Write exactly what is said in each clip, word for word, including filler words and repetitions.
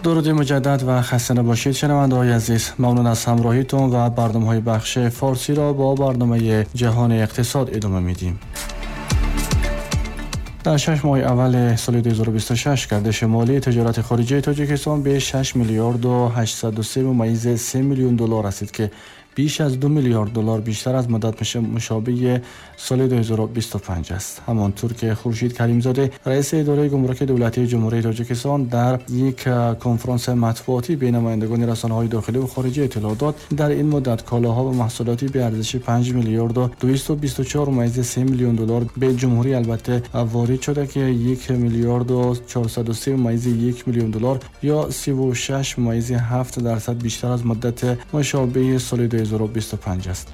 درود مجدد و خسته نباشید شنونده‌های عزیز. ممنون از همراهیتون و برنامه‌های بخش فارسی را با برنامه جهان اقتصاد ادامه میدیم. در شش ماه اول سال دو هزار و بیست و شش گردش مالی تجارت خارجی تاجیکستان به شش میلیارد و هشتصد و سه ممیز سه میلیون دلار رسید که بیش از دو میلیارد دلار بیشتر از مدت مشابه سال دو هزار و بیست و پنج است. همانطور که خورشید کریمزاده رئیس اداره گمرک دولتی جمهوری تاجیکستان در یک کنفرانس مطبوعاتی به نمایندگان رسانه‌های داخلی و خارجی اطلاع داد، در این مدت کالاها و محصولاتی به ارزش پنج میلیارد و دویست و بیست و چهار ممیز سه میلیون دلار به جمهوری البته وارد شده که یک میلیارد و چهارصد و سه ممیز یک میلیون دلار یا سی و شش ممیز هفت درصد بیشتر از مدت مشابه سال دو هزار و بیست و پنج است.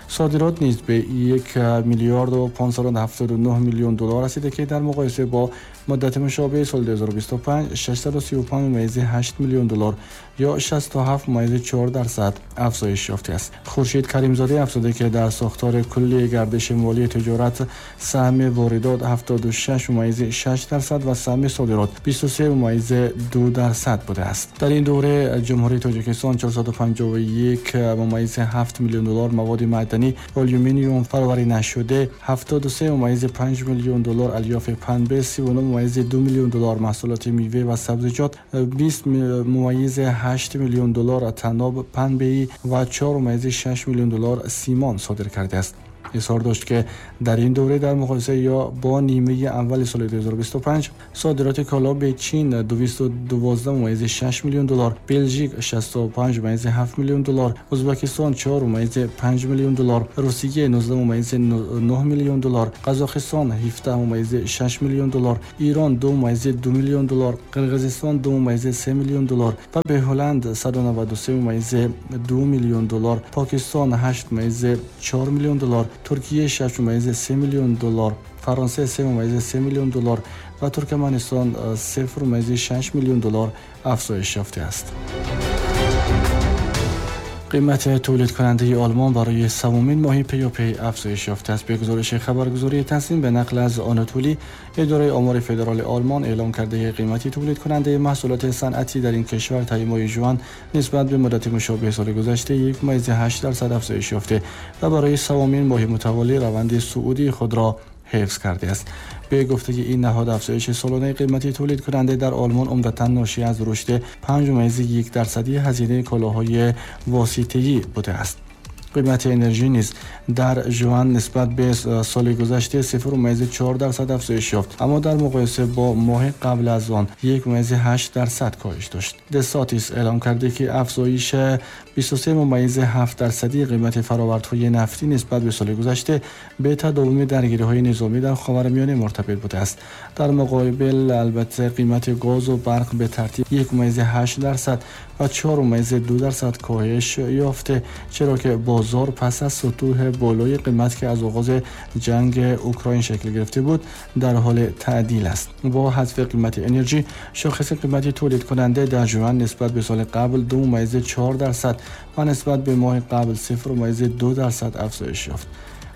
صادرات نیز به یک میلیارد و پانصد و هفتاد و نه میلیون دلار رسیده که در مقایسه با مدت مشابه سال دو هزار و بیست و پنج ششصد و سی و پنج ممیز هشت میلیون دلار یا شصت و هفت ممیز چهار درصد افزایش یافته است. خورشید کریمزاده افزوده که در ساختار کلی گردش مالی تجارت سهم واردات هفتاد و شش ممیز شش درصد و سهم صادرات بیست و سه ممیز دو درصد بوده است. در این دوره جمهوری تاجیکستان چهارصد و پنجاه و یک ممیز هفت میلیون دلار مواد معدنی آلومینیوم فراوری نشده، هفتاد و سه ممیز پنج میلیون دلار الیاف پنبه، سی و نه ممیز دو میلیون دلار محصولات میوه و سبزیجات، بیست ممیز هشت میلیون دلار تناب پنبه‌ای و چهار ممیز شش میلیون دلار سیمان صادر کرده است. اظهار داشت که در این دوره در مقایسه یا با نیمه اول سال دو هزار و بیست و پنج صادرات کالا به چین دویست و دوازده ممیز شش میلیون دلار، بلژیک شصت و پنج ممیز هفت میلیون دلار، ازبکستان چهار ممیز پنج میلیون دلار، روسیه نوزده ممیز نه میلیون دلار، قزاقستان هفده ممیز شش میلیون دلار، ایران دو ممیز دو میلیون دلار، قرقیزستان دو ممیز سه میلیون دلار و به هلند صد و نود و سه ممیز دو میلیون دلار، پاکستان هشت ممیز چهار میلیون دلار، ترکیه شش ممیز سه میلیون دلار، فرانسه سه ممیز سه میلیون دلار و ترکمنستان صفر ممیز شش میلیون دلار افزایش یافته است. قیمت تولید کننده آلمان برای سومین ماه پیاپی افزایش یافته است. به گزارش خبرگزاری تسنیم به نقل از آناتولی، اداره آمار فدرال آلمان اعلام کرده که قیمت تولید کننده محصولات صنعتی در این کشور طی ماه ژوئن نسبت به مدت مشابه سال گذشته یک ممیز هشت درصد افزایش یافته و برای سومین ماه متوالی روند صعودی خود را حفظ کرده است. به گفته این نهاد افزایش سالانه قیمت تولید کننده در آلمان عمدتاً ناشی از رشد پنج ممیز یک درصدی هزینه کالاهای واسطه‌ای بوده است. قیمت انرژی نیز در ژوئن نسبت به سال گذشته صفر ممیز چهار درصد افزایش یافت، اما در مقایسه با ماه قبل از آن یک ممیز هشت درصد کاهش داشت. دساتیس اعلام کرده که افزایش بیست و سه ممیز هفت درصدی قیمت فرآوردهای نفتی نسبت به سال گذشته به تداوم درگیری‌های نظامی در خاورمیانه مرتبط بوده است. در مقابل البته قیمت گاز و برق به ترتیب یک ممیز هشت درصد و چهار ممیز دو درصد کاهش یافته، چرا که بازار پس از سطوح بالای قیمت که از آغاز جنگ اوکراین شکل گرفته بود در حال تعدیل است. با حذف قیمت انرژی، شاخص قیمت تولید کننده در ژوئن نسبت به سال قبل دو ممیز چهار درصد و نسبت به ماه قبل صفر ممیز دو درصد افزایش یافت.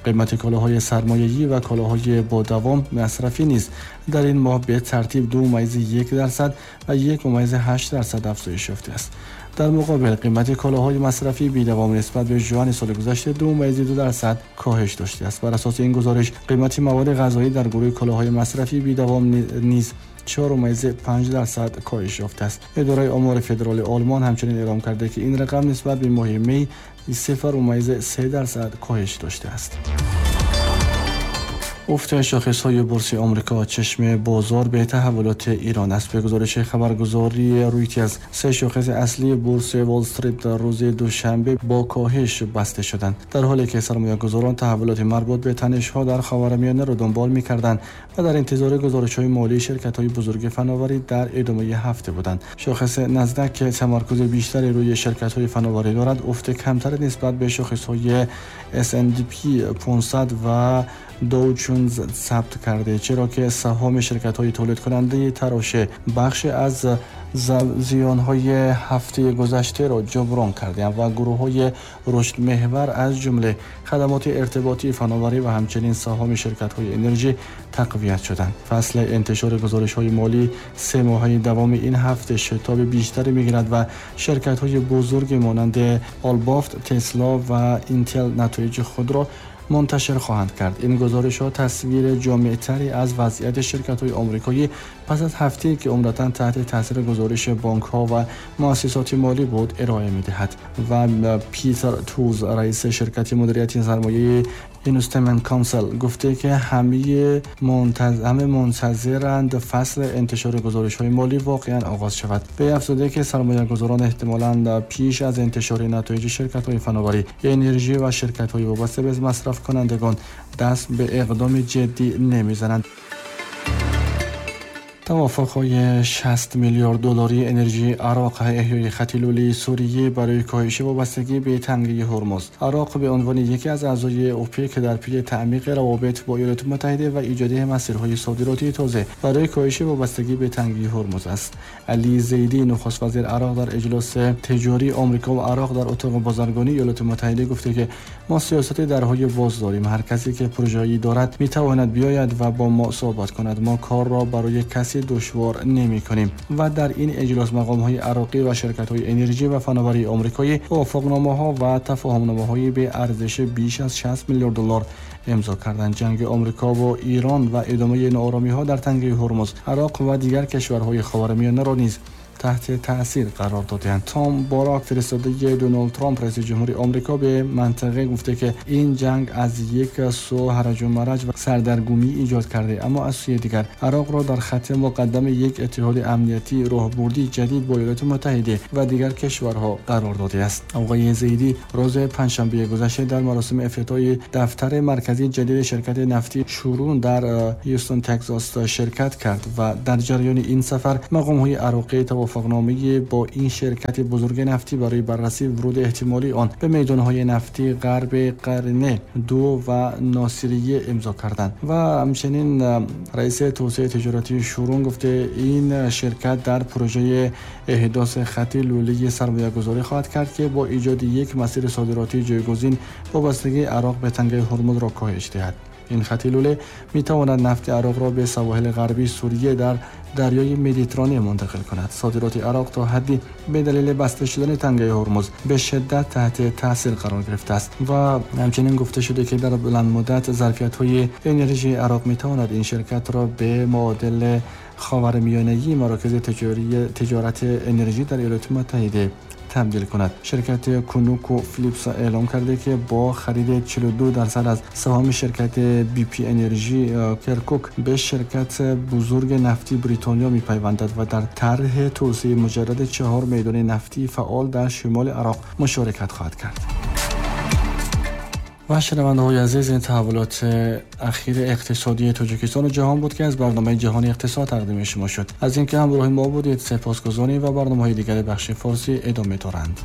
قیمت کالاهای سرمایه‌ای و کالاهای با دوام مصرفی نیز در این ماه به ترتیب دو ممیز یک درصد و یک ممیز هشت درصد افزایش یافته است. در مقابل قیمت کالاهای مصرفی بی‌دوام نسبت به ژوئن سال گذشته دو ممیز دو درصد کاهش داشته است. بر اساس این گزارش قیمت مواد غذایی در گروه کالاهای مصرفی بی‌دوام نیز چهار ممیز پنج درصد کاهش یافته است. اداره آمار فدرال آلمان همچنین اعلام کرده که این رقم نسبت به ماه می صفر ممیز سه درصد کاهش داشته است. افت شاخص‌های بورس آمریکا چشم بازار به تحولات ایران است. به گزارش خبرگزاری رویترز، سه شاخص اصلی بورس وال استریت در روز دوشنبه با کاهش بسته شدند، در حالی که سرمایه‌گذاران تحولات مربوط به تنش‌ها در خاورمیانه را دنبال می‌کردند و در انتظار گزارش‌های مالی شرکت‌های بزرگ فناوری در ادامه هفته بودند. شاخص نزدک که تمرکز بیشتری روی شرکت‌های فناوری دارد، افت کمتر نسبت به شاخص‌های اس اند پی پانصد و داو جونز ثبت کرده، چرا که سهام شرکت‌های تولید کننده تراشه بخش از زیان‌های هفته گذشته را جبران کردند و گروه‌های رشد محور از جمله خدمات ارتباطی، فناوری و همچنین سهام شرکت‌های انرژی تقویت شدند. فصل انتشار گزارش‌های مالی سه ماهه دوام این هفته شتاب بیشتری می‌گیرد و شرکت‌های بزرگ مانند آلبافت، تسلا و اینتل نتایج خود را منتشر خواهند کرد. این گزارش‌ها تصویر جامع‌تری از وضعیت شرکت‌های آمریکایی پس از هفته‌ای که عمدتاً تحت تاثیر گزارش بانک‌ها و مؤسسات مالی بود ارائه می‌دهد. و پیتر توز، رئیس شرکت مدیریت سرمایه Investment Council، گفته که همه منتظر همه منتظرند فصل انتشار گزارش‌های مالی واقعاً آغاز شود. به افزوده که سرمایه‌گذاران احتمالاً پیش از انتشار نتایج شرکت‌های فناوری، انرژی و شرکت‌های وابسته به مصرف کنندگان دست به اقدام جدی نمی‌زنند. توافق‌های شصت میلیارد دلاری انرژی عراق، احیای خط لوله سوریه برای کاهش وابستگی به تنگه هرمز. عراق به عنوان یکی از اعضای اوپک در پی تعمیق روابط با ایالات متحده و ایجاد مسیرهای صادراتی تازه برای کاهش وابستگی به تنگه هرمز است. علی زیدی، نخست وزیر عراق، در اجلاس تجاری آمریکا و عراق در اتاق بازرگانی ایالات متحده گفته که ما سیاست درهای باز داریم. هر کسی که پروژه‌ای دارد می‌تواند بیاید و با ما صحبت کند. ما کار را برای کسی دشوار نمی کنیم. و در این اجلاس مقام های عراقی و شرکت های انرژی و فناوری آمریکایی توافقنامه ها و تفاهم های به ارزش بیش از شصت میلیارد دلار امضا کردند. جنگ آمریکا و ایران و ادامه ناآرامی ها در تنگه هرمز، عراق و دیگر کشورهای خاورمیانه را نیز تحت تاثیر قرار دادند. تام باراک، فرستاده دونالد ترامپ رئیس جمهوری آمریکا به منطقه، گفته که این جنگ از یک سو هرج و مرج و سردرگمی ایجاد کرده، اما از سوی دیگر عراق را در خط مقدم یک اتحاد امنیتی راهبردی جدید با ایالات متحده و دیگر کشورها قرار داده است. آقای زیدی روز پنجشنبه گذشته در مراسم افتتاح دفتر مرکزی جدید شرکت نفتی شورون در هیوستن تگزاس شرکت کرد و در جریان این سفر مقام‌های عراقی توافقنامه با این شرکت بزرگ نفتی برای بررسی ورود احتمالی آن به میدان‌های نفتی غرب قرنه دو و ناصریه امضا کردند. و همچنین رئیس توسعه تجارتی شورون گفته این شرکت در پروژه احداث خط لوله سرمایه‌گذاری خواهد کرد که با ایجاد یک مسیر صادراتی جایگزین وابستگی عراق به تنگه هرمز را کاهش دهد. این خط لوله می‌تواند نفت عراق را به سواحل غربی سوریه در دریای مدیترانه منتقل کند. صادرات عراق تا حدی به دلیل بسته شدن تنگه هرمز به شدت تحت تاثیر قرار گرفته است و همچنین گفته شده که در بلند مدت ظرفیت‌های انرژی عراق می‌تواند این شرکت را به معادل خاورمیانه‌ای مراکز تجاری تجارت انرژی در ایالات متحده تبدیل کند. شرکت کونوکو فیلیپس اعلام کرده که با خرید چهل و دو درصد از سهام شرکت بی پی انرژی کرکوک به شرکت بزرگ نفتی بریتانیا می‌پیوندد و در طرح توسعه مجدد چهار میدان نفتی فعال در شمال عراق مشارکت خواهد کرد. و شنونده‌های عزیز، این تحولات اخیر اقتصادی تاجیکستان و جهان بود که از برنامه جهان اقتصاد تقدیم شما شد. از اینکه همراه ما بودید سپاسگزاریم و برنامه‌های دیگر بخش فارسی ادامه دارند.